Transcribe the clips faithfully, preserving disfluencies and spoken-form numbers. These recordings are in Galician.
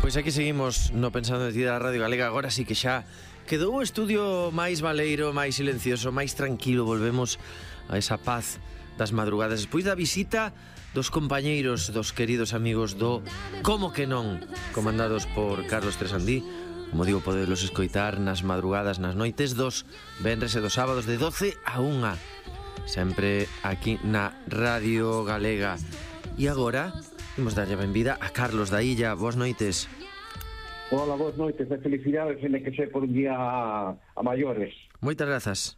Pois aquí seguimos no Pensando en Ti da Radio Galega. Agora sí que xa quedou o estudio máis baleiro, máis silencioso, máis tranquilo. Volvemos a esa paz das madrugadas despois da visita dos compañeiros, dos queridos amigos do Como que non, comandados por Carlos Tresandí. Como digo, podelos escoitar nas madrugadas, nas noites dos venres e dos sábados de doce a unha, sempre aquí na Radio Galega. E agora imos darlle a benvida a Carlos da Illa. Boas noites. Hola, boas noites, de felicidades en que sei por un día a, a maiores. Moitas grazas.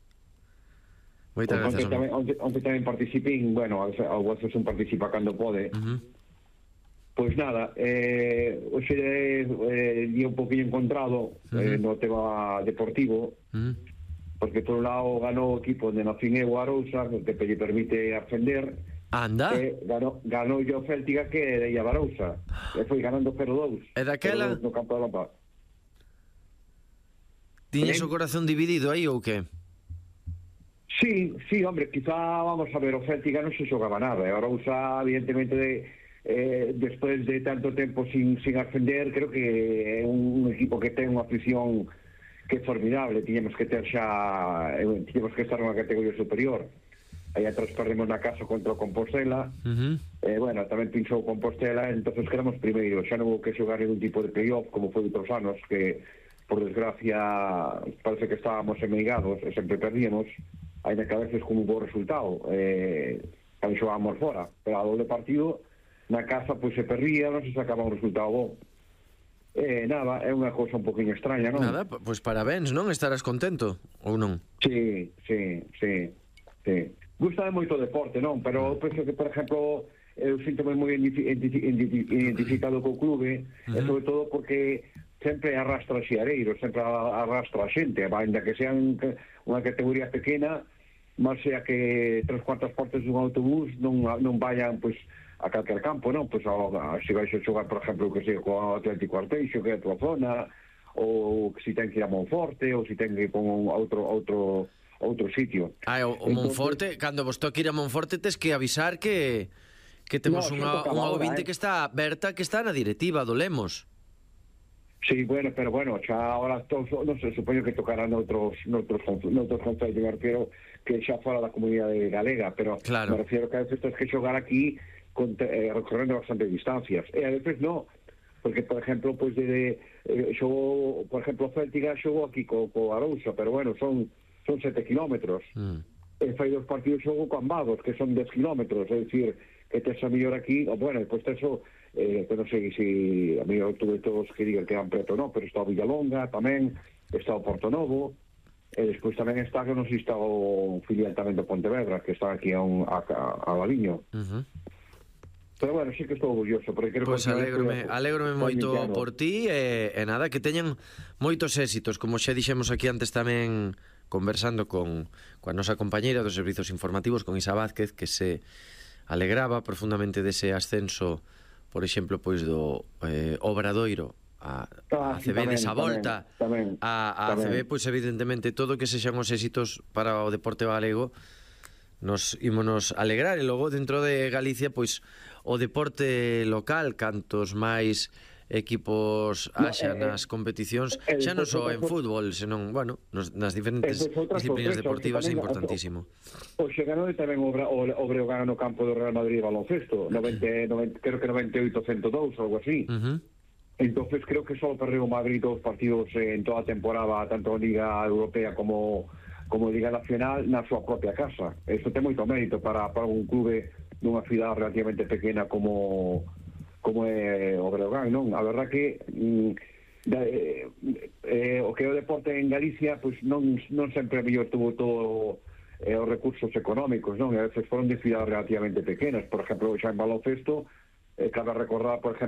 Moitas pues grazas. Onte tamén, onte, onte tamén participín, bueno, a veces un participa cando pode. Uh-huh. Pois pues nada, eh, hoxe eh, día un poquinho encontrado uh-huh. eh, no tema deportivo, uh-huh. porque por un lado ganou o equipo de Nacín e o Arousa, que lle permite ascender. Anda. Eh, ganó, ganó yo Céltica que de Illa Barousa. E foi ganando cero dous. E daquela? No campo da Lampa. Tiñes o corazón dividido aí ou que? Sí, sí, hombre, quizá, vamos a ver, o Céltica non se xogaba nada. E a Arousa, evidentemente, de, eh, despois de tanto tempo sin, sin ascender, creo que é un, un equipo que ten unha afición que é formidable. Tiñamos que ter xa... Eh, tiñamos que estar nunha categoría superior. Aí atrás perdemos na casa contra o Compostela. Uh-huh. eh, bueno, tamén pinchou o Compostela, entonces quedamos primeiro, xa non houve que xogar ningún tipo de playoff como foi outros anos, que por desgracia parece que estábamos emeigados e sempre perdíamos, ainda que a veces con un bo resultado, eh, tamén xogábamos fora, pero a doble partido na casa pois se perdía, non se sacaba un resultado bo. Eh, nada, é unha cousa un poquinho extraña, non? Nada, pois parabéns, non? Estarás contento ou non? Sí, sí, sí, sí. Gústame moito o deporte, non? Pero eu penso que, por exemplo, eu sinto-me moi identificado co clube, uh-huh. e sobre todo porque sempre arrastra xiareiros, sempre arrastra a xente, ainda que sean unha categoría pequena, máis sea que tres cuartas partes dun autobús non, non vayan, pois, a calquer campo, non? Pois, a, a, se vais a xogar, por exemplo, que sei, co Atlético Arteixo, que é a tua zona, ou que si ten que ir a Monforte, ou si ten que ir con outro... outro outro sitio. Ah, o, o Monforte, cando vos toque ir a Monforte tes que avisar que que temos no, unha, unha ouvinte eh? que está Berta, que está na directiva do Lemos. Sí, bueno, pero bueno, xa ahora todos, non se supoño que tocarán noutros noutros noutros concellos, me refiero que xa fora da comunidade galega, pero claro. Me refiero que a veces tens que xogar aquí con, eh, recorrendo bastante distancias, e a veces no, porque, por exemplo, pois pues, de, de eh, xogo, por exemplo, Céltica xogo aquí co, co Arousa, pero bueno, son son sete kilómetros. Mm. E fai dos partidos xogo con Ambados, que son dez kilómetros, é dicir, que tes a mellor aquí, o bueno, depois tes o, eh, que non sei se a mellor tuve todos que digan que eran preto, non, pero está o Villalonga tamén, está o Portonovo, e despois tamén está, que non sei, está o filial tamén do Pontevedra, que está aquí a, un, a, a, a Valiño. Uh-huh. Pero bueno, sí que estou orgulloso, porque creo pues que... Alégrome, alégrome moito por ti, e, e nada, que teñan moitos éxitos, como xa dixemos aquí antes tamén, conversando con coa nosa compañeira dos servizos informativos, con Isa Vázquez, que se alegraba profundamente dese ascenso, por exemplo, pois do eh, Obradoiro a, a A C B, tamén, desa volta tamén, tamén, a, a tamén. A C B, pois evidentemente todo que sexan os éxitos para o deporte galego nos ímonos alegrar. E logo dentro de Galicia, pois o deporte local, cantos máis equipos haxa no, eh, nas competicións, eh, xa non só en fútbol, senón, bueno, nos, nas diferentes disciplinas deportivas é importantísimo. O xe ganou tamén o, o, o Breogán no campo do Real Madrid baloncesto, noventa, noventa, creo que noventa e oito a cento dous, algo así. Uh-huh. Entonces creo que só perdeu o Madrid dos partidos en toda a temporada, tanto en Liga Europea como como Liga Nacional, na súa propia casa. Eso ten moito mérito para, para un clube dunha cidade relativamente pequena como como é o Breogán, non? A verdad que mm, da, eh, eh, o que é o deporte en Galicia pois non, non sempre mellor tuvo todo eh, os recursos económicos, non? E a veces foron de cidades relativamente pequenas. Por exemplo, xa en baloncesto, eh, cabe recordar, por exemplo,